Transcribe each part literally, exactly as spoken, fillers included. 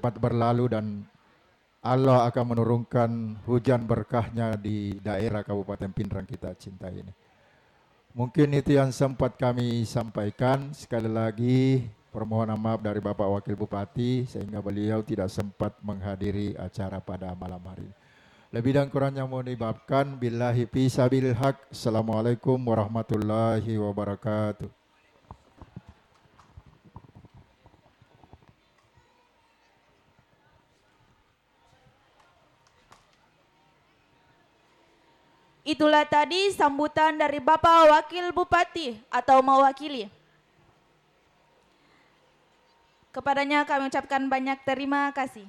cepat berlalu dan Allah akan menurunkan hujan berkahnya di daerah Kabupaten Pinrang kita cinta ini. Mungkin itu yang sempat kami sampaikan. Sekali lagi, permohonan maaf dari Bapak Wakil Bupati, sehingga beliau tidak sempat menghadiri acara pada malam hari ini. Lebih dan kurangnya mohon dimaafkan. Billahi fi sabilil haq. Assalamualaikum warahmatullahi wabarakatuh. Itulah tadi sambutan dari Bapak Wakil Bupati atau mewakili. Kepadanya kami ucapkan banyak terima kasih.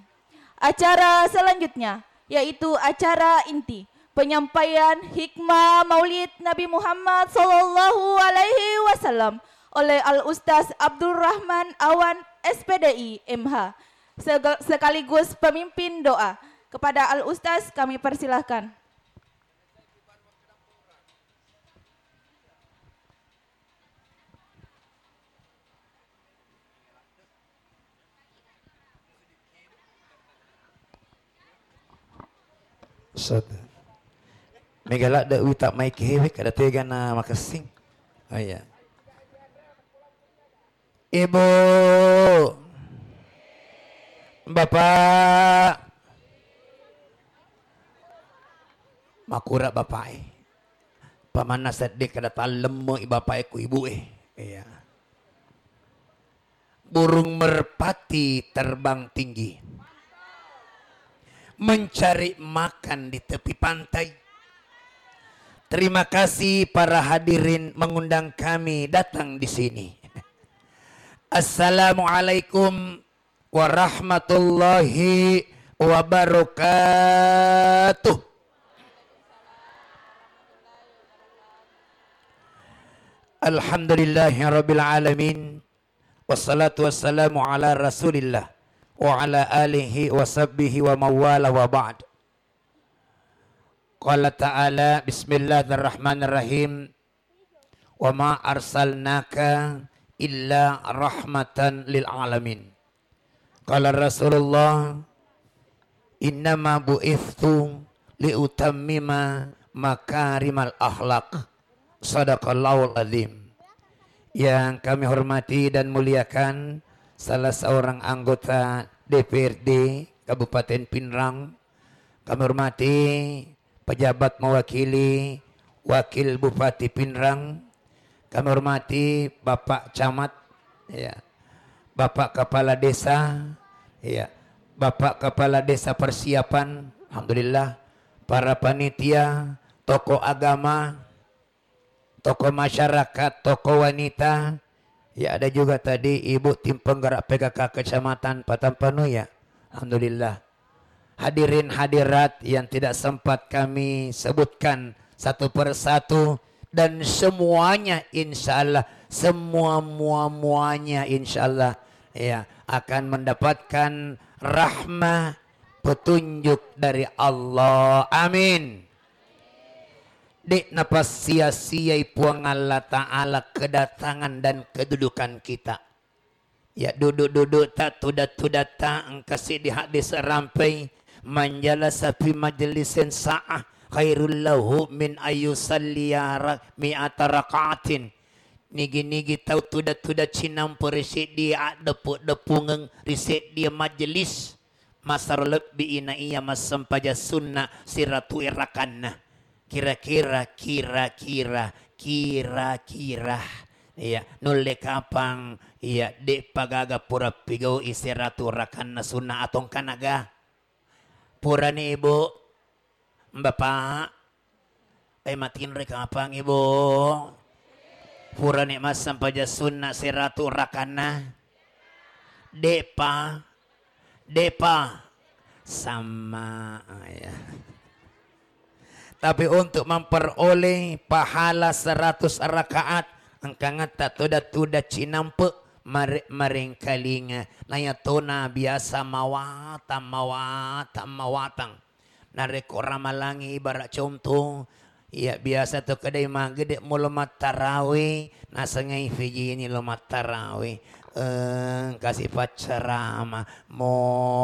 Acara selanjutnya yaitu acara inti, penyampaian hikmah Maulid Nabi Muhammad sallallahu alaihi wasallam oleh Al Ustaz Abdurrahman Awan, S P D I, M H. Sege-, sekaligus pemimpin doa. Kepada Al Ustaz kami persilahkan. Ustaz. Mega ladde' wita mai kewek, ada tegana makessing. Oh iya. Ibu, Bapak, makura bapak e. Pamanna seddi kada tallemme i bapak e ku ibu e. Iya. Burung merpati terbang tinggi, mencari makan di tepi pantai. Terima kasih para hadirin mengundang kami datang di sini. Assalamualaikum warahmatullahi wabarakatuh. Alhamdulillahirabbil alamin. Wassalatu wassalamu ala Rasulillah wa ala alihi wa sahbihi wa mawala wa ba'd. Qala ta'ala, bismillahirrahmanirrahim. Wa ma arsalnaka illa rahmatan lil alamin. Qala Rasulullah, innama bu'ithu liutammima makarimal akhlak. Sadaqallahul azim. Yang kami hormati dan muliakan salah seorang anggota D P R D Kabupaten Pinrang. Kami hormati pejabat mewakili Wakil Bupati Pinrang, kami hormati Bapak Camat, ya, Bapak Kepala Desa, ya, Bapak Kepala Desa Persiapan, alhamdulillah, para panitia, tokoh agama, tokoh masyarakat, tokoh wanita, ya, ada juga tadi Ibu tim penggerak P K K Kecamatan Patampanu, ya. Alhamdulillah. Hadirin hadirat yang tidak sempat kami sebutkan satu per satu, dan semuanya insya Allah, semua mua-muanya insya Allah, ya, akan mendapatkan rahmah, petunjuk dari Allah. Amin. Dek napassia-siai Puang Allah Ta'ala kedatangan dan kedudukan kita. Ya, duduk-dudukta, tuda-tudatta, engka siddi hadis rampai, "Man jalasa fi majlisin sa'ah khairul lahu min ayusalliya ra-, mi'ata raka'atin." Nigi-nigi tau tuda-tuda cinampe ri seddie addepu-, deppungeng ri seddie majelis, masaro lebbi i na iya massempajang sunna siratu rakanna. Kira-kira, kira-kira, kira-kira. Iya, nulle kapang, iya, de'pa gaga pura pigau'i siratu rakanna sunna atongkanaga. Purani, Ibu, Bapak, eh, matinroi kapang, Ibu. Purani massempajang sunna siratu rakanna. De'pa, de'pa. Sama, ah, ya. Tapi untuk memperoleh pahala seratus rakaat, engkangetta tuda-tuda cinampe, mare-, marengkalinga. Nayatona biasa mawatang, mawatang, mawatang. Narekko ramalangi, ibarat contoh, iya, biasa to kedai magede mulo mattarawe, nasengai fijini lo mattarawe. Eh, kasi paccarama, mo